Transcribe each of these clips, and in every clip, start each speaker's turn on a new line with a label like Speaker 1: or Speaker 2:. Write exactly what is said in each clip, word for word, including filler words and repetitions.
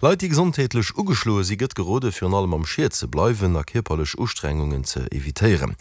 Speaker 1: Leit, déi gesondheetlech ugeschloe si gëtt gerode virun allem am Schied ze bleiwen a kierperlech Ustrengungen ze evitéieren.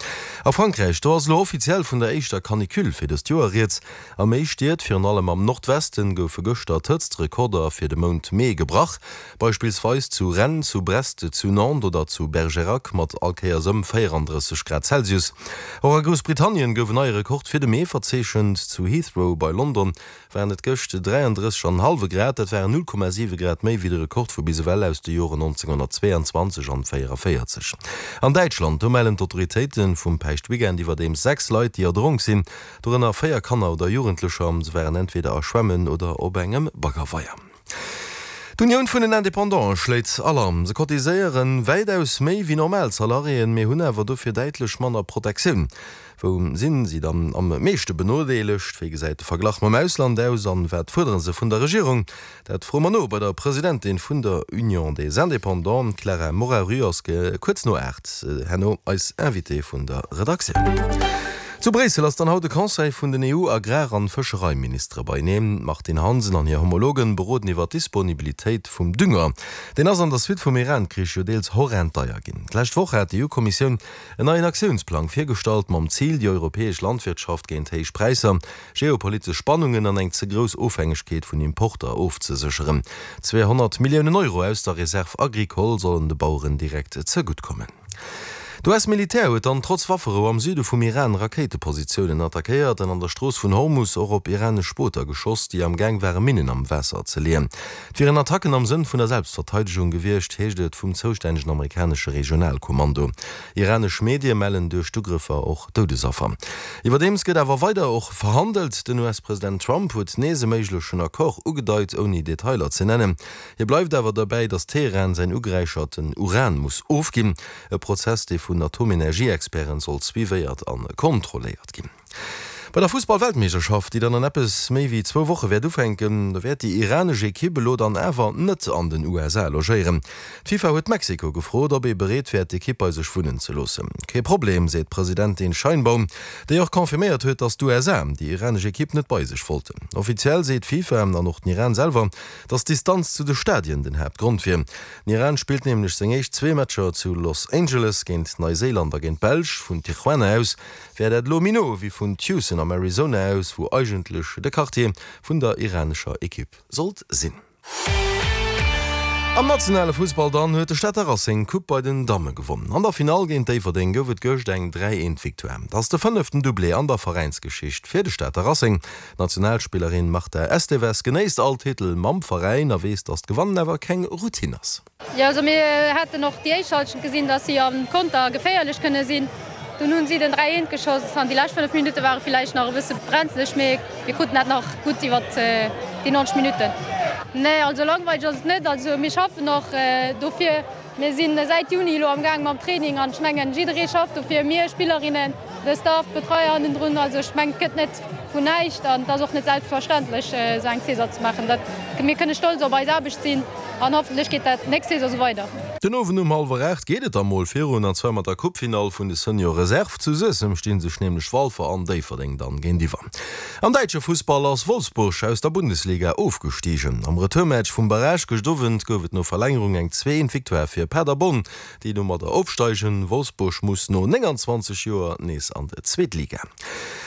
Speaker 1: A Frankräich, do ass elo offiziell vun der éischter Canicule fir dëst Joer rieds. A méi Stied, virun allem am Nordwesten, goufe gëschter d'Hëtztrekorder fir de Mount Mee gebrach. Beispillsweis zu Rennes, zu Brest, zu Nantes oder zu Bergerac mat all Kéiers ëm véierandrësseg Grad Celsius. Och a Groussbritannien gouf en neie Rekord fir de Mee verzeechent. Zu Heathrow bei London waren et gëscht dräiandrësseg an en hallwe Grad, dat waren null Komma siwe Grad méi wéi de Rekord vu bis ewell aus de Joren nonzénghonnertzweeanzwanzeg an véieraféierzeg. An Däitschland, do mellen d'Autoritéite vum Päischtweekend iwwerdeems sechs Leit, déi erdronk sinn, dorënner véier Kanner oder Jugendlecher. Se waren entweder a Schwämmen oder op engem Baggerweier. D'Unioun vun den Independanten schléit Alarm. Se cotiséiere wäitaus méi wéi normal Salariéen, mee hunn awer dofir däitlech manner Protektioun. Wou sinn si dann am meeschte benodeelegt? Wéi gesäit de Verglach mam Ausland aus an wat fuerdere se vun der Regierung? Dat froe mer no bei der Presidentin vun der Union des Indépendants. D'Clara Moraru ass kuerz no aacht herno eis Invitée vun der Redaktioun. Zu Bréissel ass dann haut de Conseil vun den EU-Agrar an Fëschereiministere beieneen. D'Martine Hansen an hir Homologen beroden iwwer d'Disponibilitéit vum Dünger. Deen ass an der Suite vum Iran-Krich jo deels horrend deier ginn. D'lescht Woch hat d'EU-Kommissioun en neien Aktiounsplang virgestallt, mam Zil, déi europäesch Landwirtschaft géint héich Präisser, geopolitesch Spannungen an eng ze grouss Ofhängegkeet vun Importer ofzesécheren. Zweehonnert Milliounen Euro aus der Réserve agricole sollen de Baueren direkt zegutt kommen. D'US-Militär huet dann trotz Wafferou am Süde vum Iran Rakéitepositiounen attackéiert an an der Strooss vun Hormus och op iranesch Booter geschoss, déi am Gaang ware Minnen am Waasser ze leeën. Et wieren Attacken am Sënn vun der Selbstverteidegung gewiescht, heescht et vum zoustännegen amerikanesche Regionalkommando. Iranesch Medie mellen duerch d'Ugrëffer och Doudesaffer. Iwwerdeems gëtt awer weider och verhandelt. Den U S-President Trump huet nees e méiglechen Accord ugedeit, ouni Detailer ze nennen. Hie bleift awer derbäi, datt Teheran säin ugeräicherten Uran muss ofginn. E Prozess, dee vun Atomenergieexperten soll suivéiert a kontrolléiert ginn. Bei der Fussball-Weltmeeschterschaft, déi dann an eppes méi wéi zwou Woche wäert ufänken, do wäert déi iranesch Ekipp elo dann awer net an den U S A logéieren. D'FIFA huet Mexiko gefrot, ob ee bereet wär, d'Ekipp bei sech wunnen ze loossen. Kee Problem, seet d'Presidentin Sheinbaum, déi och confirméiert huet, datt d'U S A déi iranesch Ekipp net bei sech wollten. Offiziell seet d'FIFA an och den Iran selwer, datt d'Distanz zu de Stadien den Haaptgrond wier. Den Iran spillt nämlech seng éischt zwee Matcher zu Los Angeles géint Neiséiland a géint d'Belsch. Vun Tijuana aus wär dat elo méi no wéi vun Tucson am Arizona aus, wou eigentlech de Quartier vun der iranescher Ekipp sollt sinn. Am nationale Fussball dann huet de Stater Racing d'Coupe bei den Damme gewonnen. An der Finall géint Déifferdeng gouf et gëscht eng dräi eent Victoire. Et ass de fënneften Doublé an der Veräinsgeschicht fir de Stater Racing. D'Nationalspillerin Marta Esteves genéisst all Titel mam Veräin a weess, datt d'Gewannen awer keng Routine ass.
Speaker 2: Jo, also mir haten och déi éischt Halschent gesinn, datt si am Konter geféierlech kënne sinn. Dunn hunn si den dräi eent geschoss an déi lescht fënnef Minutte ware villäicht nach e bësse brenzleg, mee mir kruten dat nach gutt iwwert déi neunzeg Minutten. Nee, also langweileg ass et net. Also mir schaffen och dofir. Mir si säit Juni elo am Gaang mam Training an ech mengen, jidderee schafft dofir, mir Spillerinnen, de Staff, d'Betreier hannendrun. Also ech mengen, et gëtt net vun näischt an et ass och net selbstverständlech, esou eng Saison ze maachen. Dat, mir kënne stolz op eis Aarbecht sinn an hoffentlech geet dat nächst Saison esou weider.
Speaker 1: Den Owend um hallwer aacht geet et da mol virun, an zwar mat der Coupefinall vun de Senior Reserve. Zu Suessem sti sech nämlech Walfer an Déifferdeng dann géintiwwer. Am däitsche Fussball ass Wolfsburg aus der Bundesliga ofgestigen. Am Retourmatch vum Barrage gëscht Owend gouf et no Verlängerung eng zwee eent Victoire fir Paderborn, déi domadder opsteigen. Wolfsburg muss no nénganzwanzeg Joer nees an d'zweet Liga.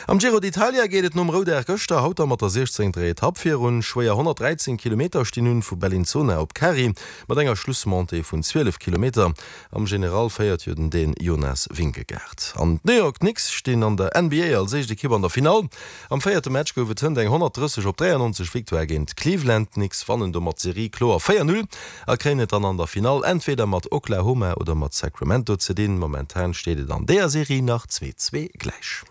Speaker 1: Am Giro d'Italia geet et nom Roudag gëschter haut da mat der siechzéngter Etapp virun. Schwéier honnertdräizéng Kilometer stinn un, vu Bellinzona op Cari mat enger Schlussmontée vun zwielef Kilometer. Am General féiert jo den Dän Jonas Vingegaard. An d'New York Knicks stinn an der N B A als éischt Ekipp an der Finall. Am véierte Match gouf et hënt eng honnertdrësseg op dräiannonzeg Victoire géint Cleveland. D'Knicks wannen domat d'Serie kloer véier null a kréien et dann an der Finall entweder mat Oklahoma oder mat Sacramento ze dinn. Momentan steet et an deeër Serie nach zwee zwee gläich.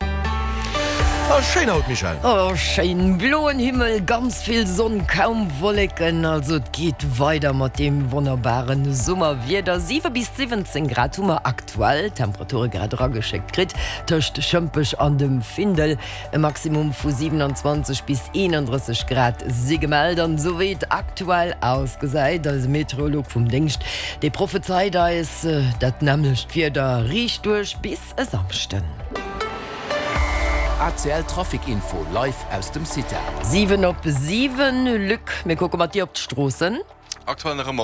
Speaker 1: A schéin haut, Michèle!
Speaker 3: Oh schéin, bloen Himmel, ganz vill Sonn, kaum Wolleken, also et geet weider mat deem wonnerbaren Summerwieder. siwe bis siwwenzéng Grad hu mer aktuell, Temperature grad erageschéckt kritt tëscht Schëmpech an dem Findel. E Maximum vu siewenundzwanzeg bis eenandrësseg Grad si gemellt an esou wéi et aktuell ausgesäit, eise Meteorolog vum Déngscht, dee prophezeit eis dat nämmlecht Wieder riicht duerch bis e Samschden.
Speaker 4: A C L Trafic Info live aus dem CITA.
Speaker 3: Siwen op siwen, Luc, mir kucke mat dir op d'Stroossen.
Speaker 5: Aktuell nach ëmmer